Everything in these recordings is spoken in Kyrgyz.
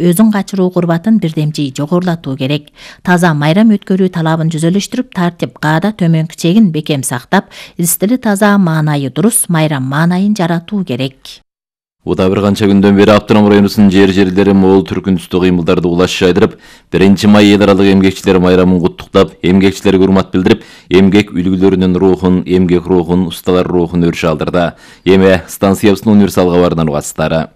өзүн качыруу курбатын бирдемчи жогорулатуу керек. Таза майрам өткөрүү талабын жүзөлөштүрүп, тартип каада төмөнкү чегин бекем сактап, стили таза, маанайы дурус майрам маанайын жаратуу керек. Уда бир канча күндөн бери Автоном районунун жери мол түркүн түстүү кыймылдарды улаш жайдырып, 1-май эл аралык эмгекчилер майрамын куттуктап, эмгекчилерге урмат билдирип, эмгек үлгүлөрүнүн рухун, эмгек рухун, усталар рухун өрүшө алдырды. Эме станциябыздын универсал кабарынан угасыздар.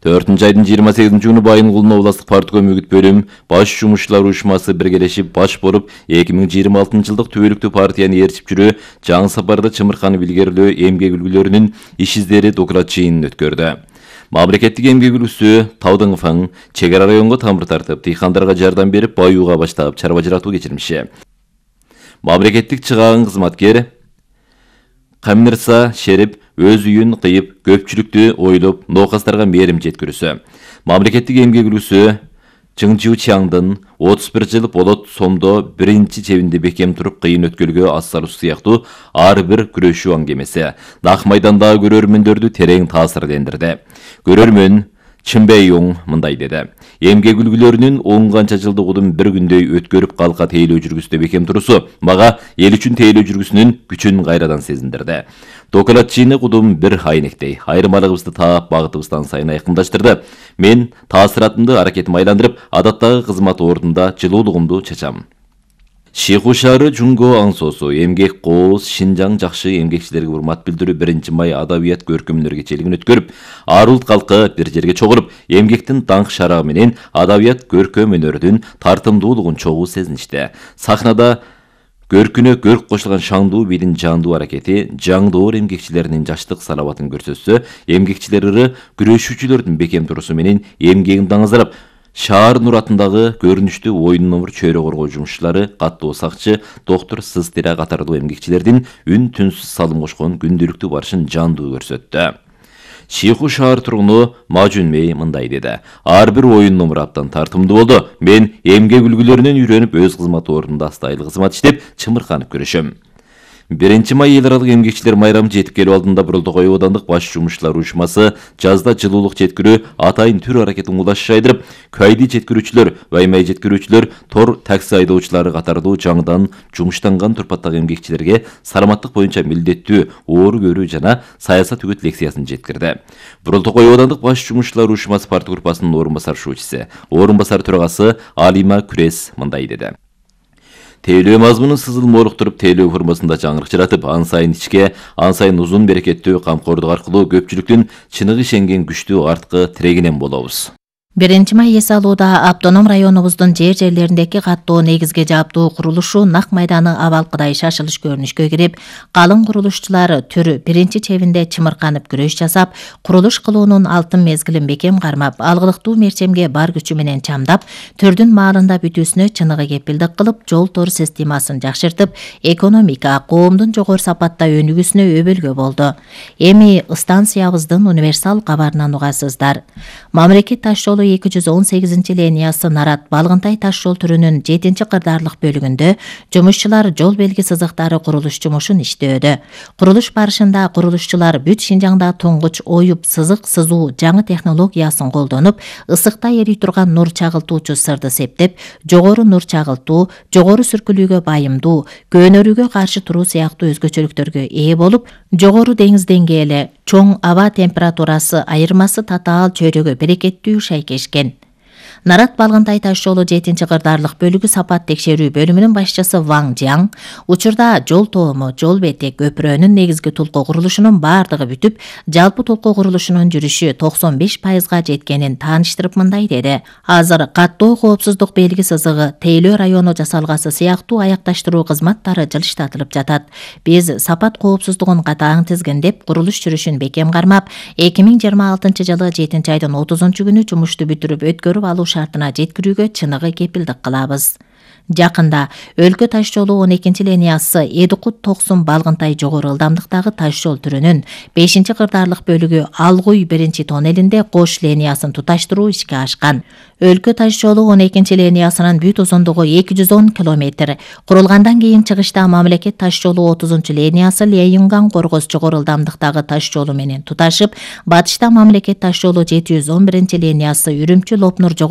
4-айдын 28 күнү Байынгулдун областык партком үгүт бөлүм баш жумушчулар уюшмасы биргелешип баш болуп 2026 жылдык түбөлүктүү партияны ээрчип жүрүү жаңы сапарды чымырканып илгерилөө эмгек үлгүлөрүнүн иш издери доклад жыйынын өткөрдү. Мамлекеттик эмгек үлгүсү Таудың фаң чек ара районго тамыр тартып, дыйкандарга жардам берип, баюуга баштап чарба жаратуу кечирмиши. Мамлекеттик чыгаагын кызматкер Камирса Шерип өз үйүн кыйып, көпчүлүктү ойлоп, ноокастарга мээрим жеткирүүсү. Мамлекеттик эмгек үлгүсү Чыңжуу Чаңдын 31 жыл болот сомдо биринчи чебинде бекем туруп кыйын өткөлгө ассалуу сыяктуу ар бир күрөшүү аңгемеси Нак майдандагы көрөрмөндөрдү терең таасирлендирди. Көрөрмөн Чымбейюң мындай деди. Эмгек үлгүлөрүнүн 10 канча жылдык удун бир күндөй өткөрүп калка тейлөө жүргүстө бекем турусу мага эл үчүн тейлөө жүргүсүнүн күчүн кайрадан сезиндирди. Доклад жыйыны кудум бир айнектей, айырмалыгыбызды таап, багытыбыздан сайын айкындаштырды. Мен таасиратымды аракетим айландырып, адаттагы кызмат ордунда жылуулугумду чачам. Шиху шаары Жунго аңсоосу эмгек кооз Шинжаң жакшы эмгекчилерге урмат билдирүү 1-май адабият көркөмдөр кечелигин өткөрүп, ар улут калкы бир жерге чогулуп, эмгектин даңк шарагы менен адабият көркөм өнөрдүн тартымдуулугун чогуу сезиништи. Сахнада көркүнө көрк кошулган шаңдуу бийлин жандуу аракети жаңдоор эмгекчилеринин жаштык салабатын көрсөтсө, эмгекчилер ыры күрөшүүчүлөрдүн бекем турусу менен эмгегин даңазырап, Шаар Нур атындагы көрүнүштүү ойын номер чөйрө коргоо жумушчулары, каттуу сакчы, доктор Сыздира катардуу эмгекчилердин үн түнсүз салым кошкон күндүлүктүү барышын жандуу көрсөттү. Шиху шаар тургуну Мажунмей мындай деди. Ар бир oyun номер абдан тартымдуу болду. Мен эмгек үлгүлөрүнөн үйрөнүп, өз кызмат ордунда астайлы кызмат иштеп, чымырканып көрүшөм. 1-май эл аралык эмгекчилер майрамы жетип келип алдында Бурултукай оодандык баш жумушчулар уюшмасы жазда жылуулук жеткирүү атайын түр аракетин улаш жайдырып, кайды жеткирүүчүлөр, баймай жеткирүүчүлөр, тор такси айдоочулары катардуу жаңыдан жумуштанган турпаттагы эмгекчилерге саламаттык боюнча милдеттүү оору көрүү жана саясат үгүт лекциясын жеткирди. Бурултукай оодандык баш жумушчулар уюшмасы парт группасынын орун басар шуучусу, орун басар төрагасы Алима Күрес мындай деди. Тейлөө мазмунун сызылма олуктуруп, тейлөө формасында жаңырык жаратып, ан сайын ичке, ан сайын узун берекеттүү камкордук аркылуу көпчүлүктүн чыныгы ишенген күчтүү арткы тирегинен болобуз. 1-май эс алууда Автоном районубуздун жерлериндеги каттоо негизге жааптуу курулушу Нак майданы абалкыдай шашылыш көрүнүшкө кирип, калың курулушчулар түрү биринчи чебинде чымырканып күрөш жасап, курулуш кылуунун алтын мезгилин бекем кармап, алгылыктуу мерчемге бар күчү менен чамдап, төрдүн маалында бүтүүсүнө чыныгы кепилдик кылып, жол тор системасын жакшыртып, экономика, коомдун жогору сапатта өнүгүүсүнө өбөлгө болду. Эми станциябыздын универсал кабарынан угасыздар. Мамлекет таш жолу 218 линиясы Нарат Балгынтай таш жол түрүнүн 7-кырдаарлык бөлүгүндө жумушчулар жол белги сызыктары курулуш жумушун иштөөдө. Курулуш барышында курулушчулар бүт Шинжаңда туңгуч оюп сызык сызуу жаңы технологиясын колдонуп, ысыкта эри турган нур чагылтуучу сырды септеп, жогору нур чагылтуу, жогору сүркүлүүгө байымдуу, көөнөрүүгө каршы туруу сыяктуу өзгөчөлүктөргө ээ болуп, жогору деңиз деңгээли, чоң аба температурасы айырмасы татаал чөйрөгө берекеттүү шайкешкен. Нарат Балгынтай таш жолу 7-кырдаарлык бөлүгү сапат текшерүү бөлүмүнүн башчысы Ваң Жаң учурда жол тоому, жол бети, көпүрөнүн негизги толку курулушунун бардыгы бүтүп, жалпы толку курулушунун жүрүшү 95%га жеткенин тааныштырып мындай деди. Азыр каттоо коопсуздук белги сызыгы, тейлөө району жасалгасы сыяктуу аякташтыруу кызматтары жылыштатылып жатат. Биз сапат коопсуздугун катаң тизгиндеп, курулуш жүрүшүн бекем кармап, 2026 жылы 7-айдын 30 күнү жумушту бүтүрүп өткөрүп алуу шартына жеткирүүгө чыныгы кепилдик кылабыз. Жакында өлкө таш жолу 12 линиясы Эдикут-Токсун Балгынтай жогору ылдамдыктагы таш жол түрүнүн 5-кырдаарлык бөлүгү Алгуй 1-тоннелинде кош линиясын туташтыруу ишке ашкан. Өлкө таш жолу 12 линиясынын бүт узундугу 210 км. Курулгандан кийин чыгышта мамлекет таш жолу 30 линиясы Лейюнган-Коргоз жогору ылдамдыктагы таш жолу менен туташып, батышта мамлекет таш жолу 711 линиясы Үрүмчү-Лопнур жогору